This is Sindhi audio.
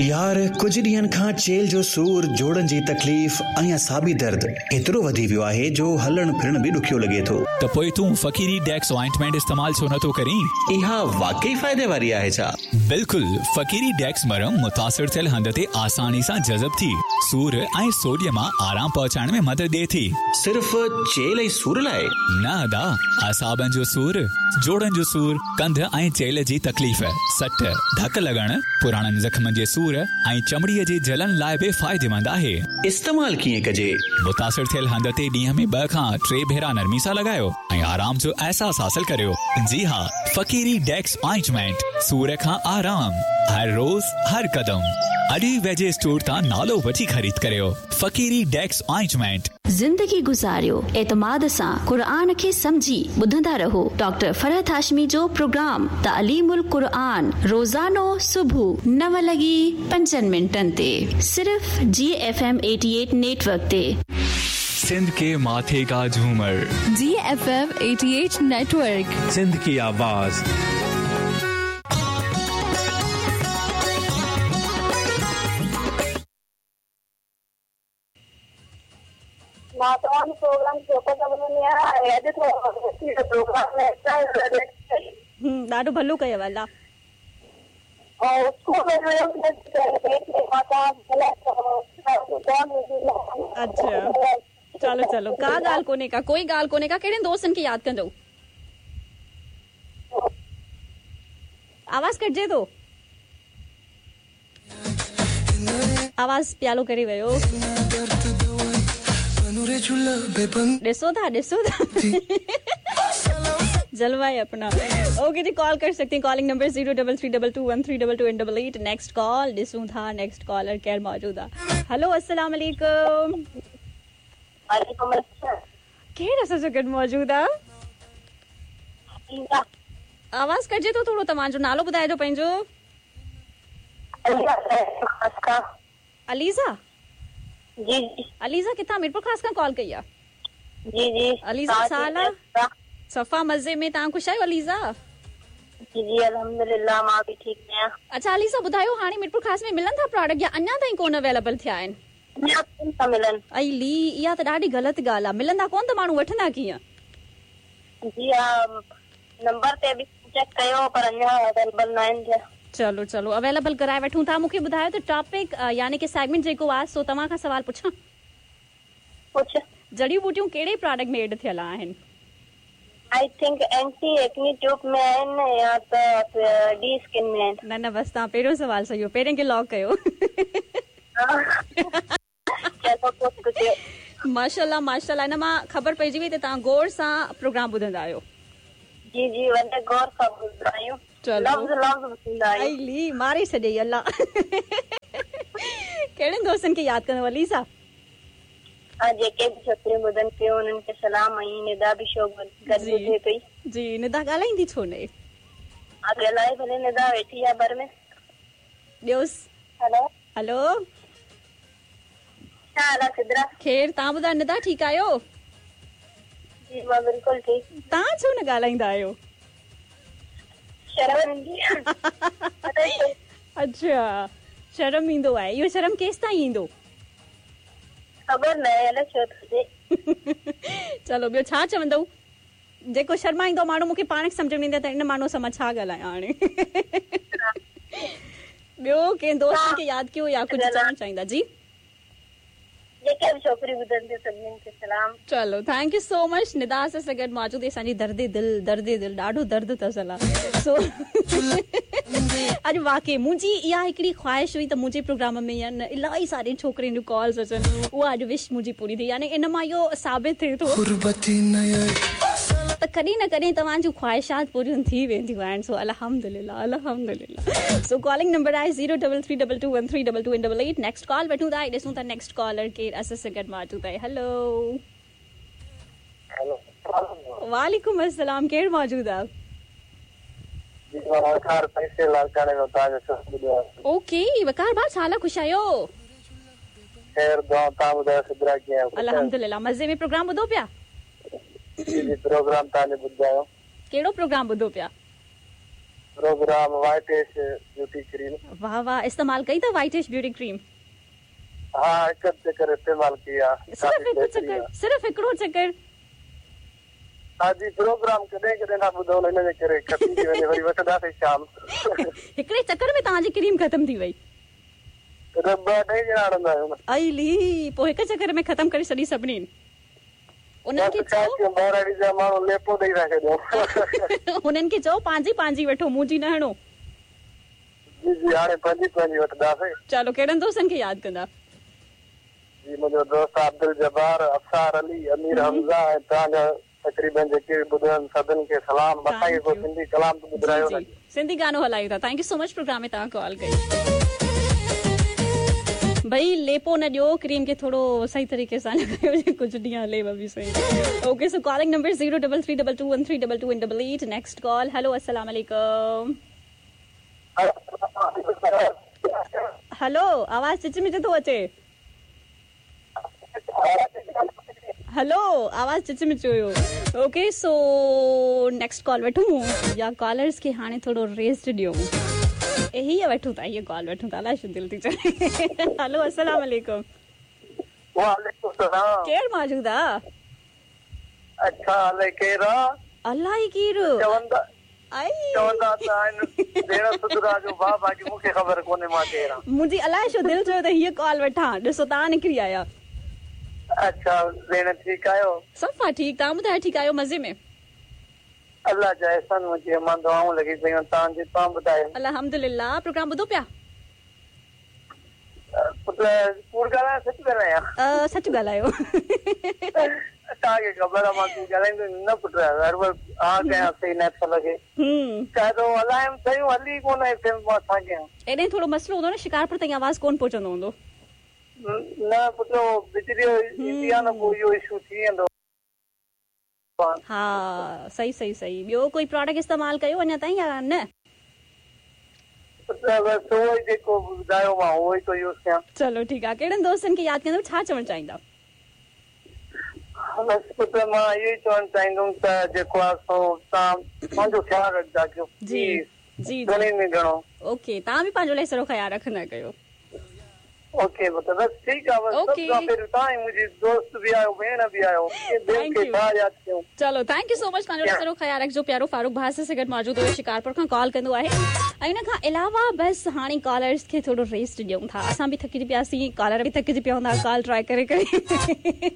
يار ڪجهه ڏينهن کان چيلهه جو سور، جوڙن جي تڪليف ۽ اعصابي درد ايترو وڌي ويو آهي جو هلڻ ڦرڻ به ڏکيو لڳي ٿو. ته پوء تون فقيري ڊيڪس آئنٽمينٽ استعمال ڇو نه ٿو ڪرين؟ اها واقعي فائدي واري آهي ڇا؟ بلڪل، فقيري ڊيڪس مرهم متاثر ٿيل هنڌ تي آساني سان جذب ٿي، سور ۽ سوڄ مان آرام پهچائڻ ۾ مدد ڏئي ٿي. صرف چيلهه ۽ سور لاء؟ نه ادا، اعصابن جو سور، جوڙن جو سور، ڪنڌ ۽ چيلهه جي تڪليف، سٽ، ڌڪ لڳڻ، پراڻن زخمن جي سور ۽ چمڙي جي جلن لاء به فائديمند آهي. استعمال ڪيئن ڪجي؟ متاثر ٿيل هنڌ تي ڏينهن ۾ 2 کان 3 ڀيرا نرمي سان لڳايو ۽ آرام جو احساس حاصل ڪريو. جي ها، فقيري ڊيڪس آئنٽمينٽ، سور کان آرام، هر روز، هر قدم. اڄ ئي ويجهي اسٽور تان نالو وٺي خريد ڪريو. فقيري ڊيڪس آئنٽمينٽ. زندگي گذاريو اعتماد سان قرآن کي سمجهي ٻڌندا رهو ڊاڪٽر فرحت هاشمي جو پروگرام تعليم القرآن روزانو صبح 9:05 تي صرف جي ايف ايم 88 نيٽ ورڪ تي. سنڌ ڪي ماٿي ڪا جهومر. G F M 88 network. Sindh ڪي آواز. مان توهان جو پروگرام شوق سان ٻڌندي آهيان ۽ اڄ ٿورو ٿي ويو پروگرام ۾ هم ڏاڍو ڀلو ڪيو الله. ۽ اسڪول ۾ ويم اڇا چلو چلو ڪا ڳالهه ڪونهي ڪا ڪوئي ڳالهه ڪونهي ڪا ڪهڙن دوستن کي ياد ڪندؤ آواز ڪٽجي ٿو. آواز پيالو ڪري ويو. ڏسو ٿا ڏسو ٿا جلوه هي اپنا اوڪي جي ڪال ڪر سگهتي calling number zero double three double two one three double two and double eight next call ڏسون ٿا نيڪسٽ ڪالر ڪير موجود آ هلو السلام عليڪم وعليڪم السلام ڪير اسان سان گڏ موجود آ آواز ڪٽجي ٿو ٿورو توهان جو نالو ٻڌائجو پنهنجو عليزا جي جي عليزا ڪٿان ميرپورخاص کان ڪال ڪئي آ جي جي عليزا ڇا حال آ صفا مزي ۾ توهان خوش آهيو عليزا جي جي الحمدلله مان به ٺيڪ آهيان اڇا عليزا ٻڌايو هاڻي ميرپورخاص ۾ ملن ٿا پراڊڪٽ يا اڃا تائين ڪون اويليبل ٿيا آهن اڃا ڪون ٿا ملن ائي لي اها ته ڏاڍي غلط ڳالهه آ ملندا ڪون ته ماڻهو وٺندا ڪيئن جي ها نمبر تي به چيڪ ڪيو پر اڃا اويليبل ناهن ٿيا. چلو چلو اويليبل ڪرائي وٺون ٿا مونکي ٻڌايو ته ٽاپڪ يعني ڪي سيگمينٽ جيڪو آ سو توهان کان سوال پڇان. پڇ. جڙيون ٻوٽيون ڪهڙي پراڊڪٽ ۾ ايڊ ٿيل آهن؟ I think anti acne tube ۾ آهن يا ته ڊي اسڪن ۾ آهن. نه نه بس توهان پهريون سوال صحيح هو پهرين کي لاڪ ڪيو. چلو پوء ڪجهه. ماشاءالله ماشاءالله ان مان خبر پئجي وئي ته توهان غور سان پروگرام ٻڌندا آهيو. جي جي وڏي غور سان ٻڌندا آهيون چلو لفظ لفظ ٻڌندا آهيون. ائي لي ماري ڇڏيئي الله ڪهڙن دوستن کي ياد ڪندؤ عليزا. ها جيڪي به ڇوڪريون ٻڌن پيون انهن کي سلام ۽ ندا به شو گڏ جي ٻڌي پئي. جي ندا ڳالهائيندي ڇو نه. ها ڳالهائي ڀلي ندا ويٺي آ ڀر ۾. ڏيوس. هلو. هلو. ڇا حال آ سدرا؟ خير، توهان ٻڌايو ندا ٺيڪ آهيو؟ جي مان بلڪل ٺيڪ. توهان ڇو نه ڳالهائيندا آهيو؟ شرم ايندي آ. اڇا شرم ايندو آهي، اهو شرم ڪيستائين ايندو؟ خبر ناهي الائي ڇو ٿو ٿئي. چلو ٻيو ڇا چوندؤ؟ جيڪو شرمائيندو ماڻهو مون کي پاڻ کي سمجهه ۾ نه ايندي آهي ته ان ماڻهو سان مان ڇا ڳالهايان هاڻي. ٻيو ڪنهن دوست کي ياد ڪيو يا ڪجهه چوڻ چاهيندا جي. جيڪي به ڇوڪريون ٻڌن ٿيون سڀني کي سلام. چلو thank you سو مچ ندا اسان سان گڏ موجود هئي اسان جي درد دل درد دل ڏاڍو درد اٿس الا سو اڄ واقعي منهنجي اها هڪڙي خواهش هئي ته منهنجي پروگرام ۾ يا نه الاهي سارين ڇوڪرين جون ڪالز اچن اها اڄ وش منهنجي پوري ٿي يعني ان مان اهو ثابت ٿئي ٿو ته ڪڏهن نه ڪڏهن توهان جون خواهشات پوريون ٿي وينديون آهن سو الحمدلله الحمدلله سو ڪالنگ نمبر آهي zero double three double two one three double two and double eight next call وٺون ٿا ۽ ڏسون ٿا نيڪسٽ ڪالر ڪير اسان سان گڏ موجود آهي هلو وعليڪم السلام ڪير موجود آ. جي مان وقار تحصيل لاڙڪاڻي مان توهان جو شو ٻڌو آهي. اوڪي وقار ڀاء ڇا حال آ خوش آهيو. خير دعائون توهان ٻڌايو سدرا ڪيئن آهيو خوش آهيو. الحمدلله مزي ۾ پروگرام ٻڌو پيا. جي جي پروگرام توهان جو ٻڌندا آهيون. ڪهڙو پروگرام ٻڌو پيا. Programme White Ash beauty cream. वाह वाह, इस्तेमाल कई अथव वाइट एश ब्यूटी क्रीम? हा, हिकु चकर इस्तेमाल कई आहे। सिर्फ़ हिकु चकर? सिर्फ़ हिकिड़ो चकर? हा जी, प्रोग्राम कॾहिं कॾहिं था ॿुधूं, हिन जे करे ख़तम थी वञे, वरी वठंदासीं शाम। हिकिड़े चकर में तव्हांजी क्रीम ख़तम थी वई? त ॿ अढाई ॼणा हणंदा आहियूं न। अली, पोइ हिकु चकर में ख़तम करे छॾी सभिनीनि। उन्हनि खे चओ, ॿाहिरां जा माण्हू लेपो ॾेई था छॾियूं। हुननि खे चओ पंहिंजी पंहिंजी वठो, मुंहिंजी न हणो। जी जी, हाणे पंहिंजी पंहिंजी वठंदासीं। चलो, कहिड़नि दोस्तनि खे यादि कंदा? जी, मुंहिंजो दोस्त अब्दुल जब्बार, अफसार अली, अमीर हमज़ा ऐं तव्हांजा तक़रीबन जेके बि ॿुधनि सभिनी खे सलाम। असांखे को सिंधी कलाम त ॿुधायो न। सिंधी गानो हलायूं था। Thank you so much, programme में तव्हां कॉल कई। भई लेपो न ॾियो, क्रीम खे थोरो सही तरीक़े सां लॻायो, कुझु ॾींहं हले बि सही। Okay, so calling number 033221322 and 88। Next call. Hello, अस्सलाम वालेकुम। हेलो, आवाज़ चिच मिच थो अचे। हेलो, आवाज़ चिच मिच हुयो। ओके, सो नेक्स्ट कॉल वठूं या कॉलर्स खे हाणे थोरो रेस्ट ॾियूं? हीअ वठूं था, हीअ कॉल वठूं था। अलाए छो दिलि थी चवे। हेलो, अस्सलाम वालेकुम। वालेकुम सलाम। केरु मौजूदु आहे? अच्छा, अलाए केरु आहे? अलाए केरु? चवंदा चवंदा त आहिनि भेण सुधरा जो भाउ, बाक़ी मूंखे ख़बर कोन्हे मां केरु आहियां। मुंहिंजी अलाए छो दिलि चयो त हीअ कॉल वठां, ॾिसो तव्हां निकिरी आया। अच्छा भेण, ठीकु आहियो? सफ़ा ठीकु, तव्हां ॿुधायो, ठीकु आहियो? मज़े में? अलाह जा एहसान, मुंहिंजी मां दुआऊं लॻी पयूं आहिनि तव्हांजी। तव्हां ॿुधायो? अल्हम्दुलिल्लाह। प्रोग्राम ॿुधो पिया? पुट, कूड़ ॻाल्हायां सच ॻाल्हायां? सच ॻाल्हायो। तव्हांखे ख़बर आहे मां कूड़ ॻाल्हाईंदो न पुट, हर वक़्त हा कयां सही न लॻे। काइदो हलायमि शयूं हली कोन एफ एम, मां छा कयां? एॾे थोरो मसइलो हूंदो न, शिकारपुर ताईं आवाज़ कोन पहुचंदो हूंदो। न पुट, बिजली ईंदी आहे न, पोइ इहो इशू थी वेंदो। हा, सही सही सही। ॿियो कोई प्रोडक्ट इस्तेमालु कयो अञा ताईं या न? बसि उहो ई जेको ॿुधायो मां उहो ई थो यूज़ कयां। चलो ठीकु आहे। कहिड़नि दोस्तनि खे यादि कंदव, छा चवणु चाहींदा? बसि पुट, मां इहो ई चवणु चाहींदुमि त जेको आहे सो तव्हां पंहिंजो ख़्यालु रखंदा कयो। जी जी, घणे में घणो। ओके, तव्हां बि पंहिंजो लाइ सारो ख़्यालु रखंदा कयो। ओके पुट, बसि ठीकु आहे। बसि सभु खां पहिरियों तव्हां ई मुंहिंजी दोस्त बि आहियो, भेण बि आहियो, ॿियनि खे छा यादि कयूं। चलो, thank you so much, पंहिंजो सारो ख़्यालु रखिजो। प्यारो फारूक भाउ सां गॾु मौजूदु हुयो, शिकारपुर खां कॉल कंदो आहे। ऐं हुन खां अलावा बसि हाणे कॉलर्स खे थोरो रेस्ट ॾियूं था। असां बि थकिजी पियासीं, कॉलर बि थकिजी पिया हूंदा कॉल ट्राई करे करे।